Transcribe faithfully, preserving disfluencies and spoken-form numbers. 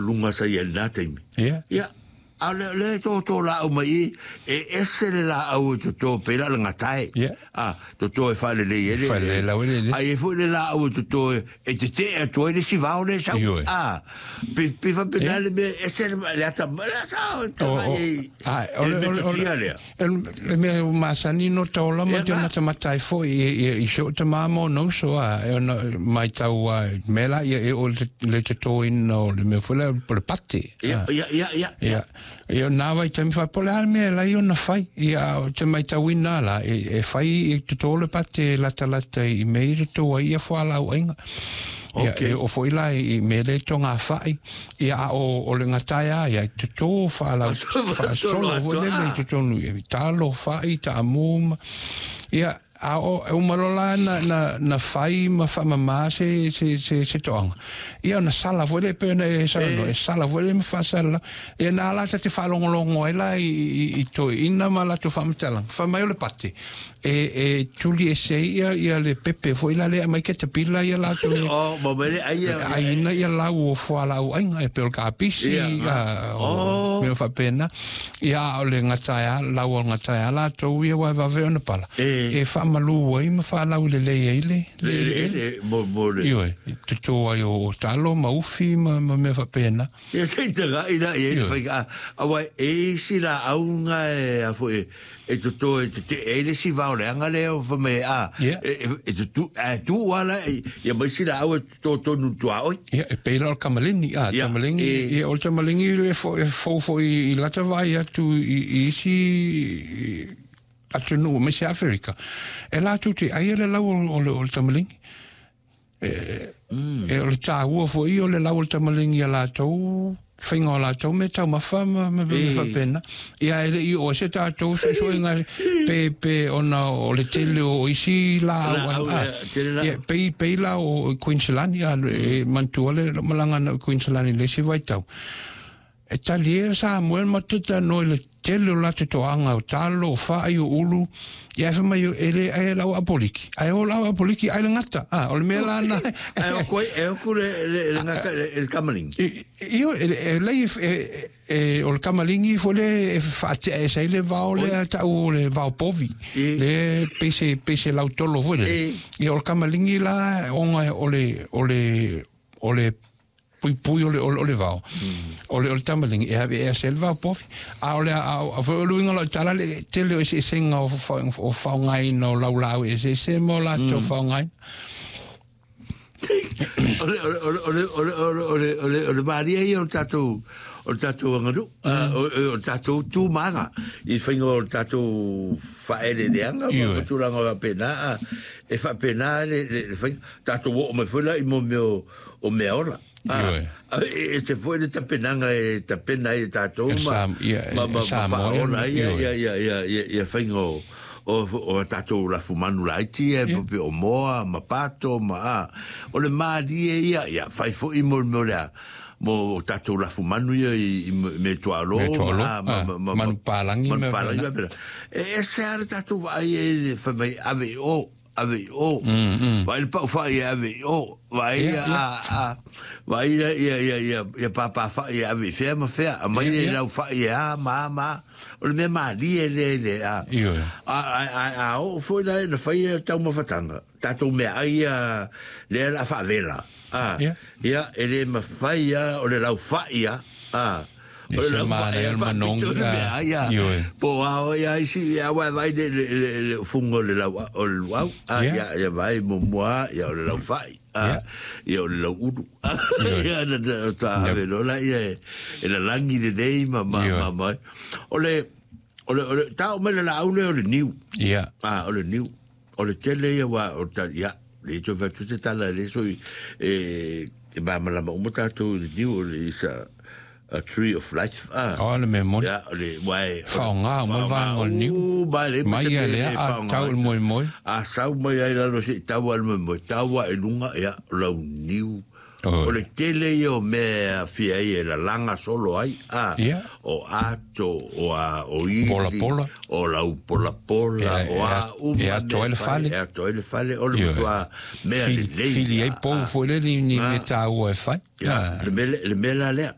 Luga sa i ai i lena taimi. Ia. Ia, a o le, lea e toto laau mai i, e ese le laau e toto pei la o le gatae. Ia. A, toto e faalelei ai le Faalelei lau eleele. A i ai foi le laau e toto e, e tetee atu ai le isi vao lea e sau. Ioe. A, pe, pe faapena Ia. le mea, ese le, le ata, le ata, o, O, o, e, a, e o le le, o le, o le, metotia lea. le mea ua masani no taola ma Ia, te na. matamata ai foi i, i, i si ou tamā ma ona uso a, e ona maitau a, mea la ia e o le, le totoina o le mea foi lea o le pate. Ia, A. ia, ia, ia. Ia, ia nā vaitaimi faapea o le a le mea e lai ona fai. Ia, a ou te maitauina la, e, e fai e totō le pate e latalata i mea i toto ai ia fualaauaiga. Ia, Okei. e oo foi la i mea le togafai. Ia, a o, o le gatae a ia, e totō faalau, Faasolo faasolo atoa. foi lele i totonu, i talo, fai, taamu ma, ia, a o, e uma loa la na, na, na fai ma faamamā se, se, se, se toaga. Ia, ona sala foi lea pei ona e saunoa, e sala foi lea ma faasalalau. Ia, na ala ta te faalogologo ai la i, i, i toeaiina ma latou faamatalaga. Fai mai o le pate, e, e tuli ese ai ia, ia le pepe foi la lea aumai ketapila ia latou e O, ma mai le ai ia. aiina ia lau o fualaauaiga, e pei o le kapisi, Ia, a, o Oh. mea faapena. Ia, a o le gatae a, lau o le gatae a latou ia ua e vave ona pala. E. E faamalu ai ma faalaulelei ai le, Le, le le, le, mo, mo le. Ioe, totō ai o, o talo ma ufi ma, ma mea faapena. Ia se i tagai la i ai le Ioe. faiga. A, aua e isi laau ga e, a foi, e toto e tetee ai le isi vao leaga lea o fai mai, a, Ia. e, e, e tutu, a e tuu lava la, e, ia ma isi laau e toto tonu i tuaoi. Ia, e pei la o le kamalini, a, Ia, tamaligi, e- ia, o le tamaligi e fo, e fou foi i lata vaai atu i, i isi i, atunuu aemaise Aferika. E latou te aia le lau o, o, le, o le tamaligi. E, mm. e o le tāua foi o le lau o le tamaligi a latou, faiga o latou mea taumafa ma, ma mea E. faapena. Ia, e le'i oo ai se tatou suesuega pe, pe ona o le tele o isi laau Laau, a, ia, tele laau. ia, pei, pei la o Queensland, ia, e manatua le malaga na i Queensland i le isi vaitau. E talie Samoa ma te talanoa i le tele o latou toaga o talo, o faai, o ulu. Ia e fai mai e le ai lau apoliki. Ai o lau apoliki ai le gata. Ah, o le mea la na. Ae o koe, e oku le, le, le, gata, le, le kamalingi. Io e e lei e e o le kamalingi foi le e faatea ese ai le vao lea ta'u o le vao povi. E. Le pei se pei se lautolo foi le. E. Ia o le kamalingi la ona o le o le o le puipui o le, o le, o le vao. O le, o le tamaligi, e ave ea se le vao povi. A o le, a, a foi o luiga o lau tala le tele o eseesega o, fa- o faaaogaina o laulaau eseese ma o latou faaaogaina. O le, o le, o le, o le, o le, o le, o le, o le, o le malie ia o le tatou, o le tatou aganuu, mm. o, o le tatou tumaga, i le faiga o le tatou faaeleeleaga ma Ioe. ma tulaga faapena, a, e faapena le, le, le faiga. Tatou oo mai foi la i mo mea o, o mea ola. A, Ioe. a, e, e se foi le tapenaga e tapena ai e tatou E ma, Sam- ia, ma, e ma, ma Samoa, faaola ai ia, ioe. ia, ia, ia, ia, ia faiga o, o, o tatou lafumanu laiti e yeah. o moa ma pato ma a. O le malie ia, ia fai foi mo le mea o le a, mo tatou lafumanu ia i, i me tuaalo Me tuaalo, ma, ma, ah, ma, ma, manupālagi manu mea pālagi faapena. faapena. E ese lava le tatou vaai ai le fai mai ave i o, ave i o. Mm, mm. Vaai le pau fai e ave i o, vaai Ia, ia, ia. a, a, vaai ia, ia, ia, ia, ia pāpā fai e ave i fea ma fea, a mai Ia, le ia. lau fai e a ma a ma a. O le mea malie lea i le a. Ioe. A, a, a, a oo foi la na fai e taumafataga, tatou meaai ia lea la faavela. A, Ia. ia, e le mafai a, o le laufai a, a. O E le se laufai manaia a le faapito manogi, le a, meaai a. ioe. Po o a oe a isi, ia ua e vaai le, le, le, le fuga o le lau, o le luau. A, Ia. ia, ia vaai muamua, ia o le laufai. A, Ia. ia o le lauulu. A, Ioe. ia, na, na, ta Ia. ave loa la, ia e, e lalagi lelei ma, ma, Ioe. ma, ma. O le, o le, o le, tao mai le laau lea o le niu. Ia. A, o le niu. O le tele ia wa, o ta, ia, le toe fai atu se tala le soi, e, e malamalama uma tatou i le niu, o le isa, a tree of life. A, O le mea moni. ia, o le, uae, Faaaoga uma le vaega o le niu. U, mai le, Mai se ia mea lea e a faaaoga tau i ai. le moemoe. A sau mai ai lalo seʻi tau a le moemoe, tau a i luga, ia, o lau niu, O le tele ia o mea e aafia ai e lalaga solo ai a Ia. o ato o a o ili Polapola. o laupolapola E- o a e- uma e atoa ai le mea fai, fale. e atoa ai le fale o le Ioe. matuā mea Fili lelei fili ai a- pou a. foi le ni ni mea taua e fai. Ia, Ah. le mea le mea la lea.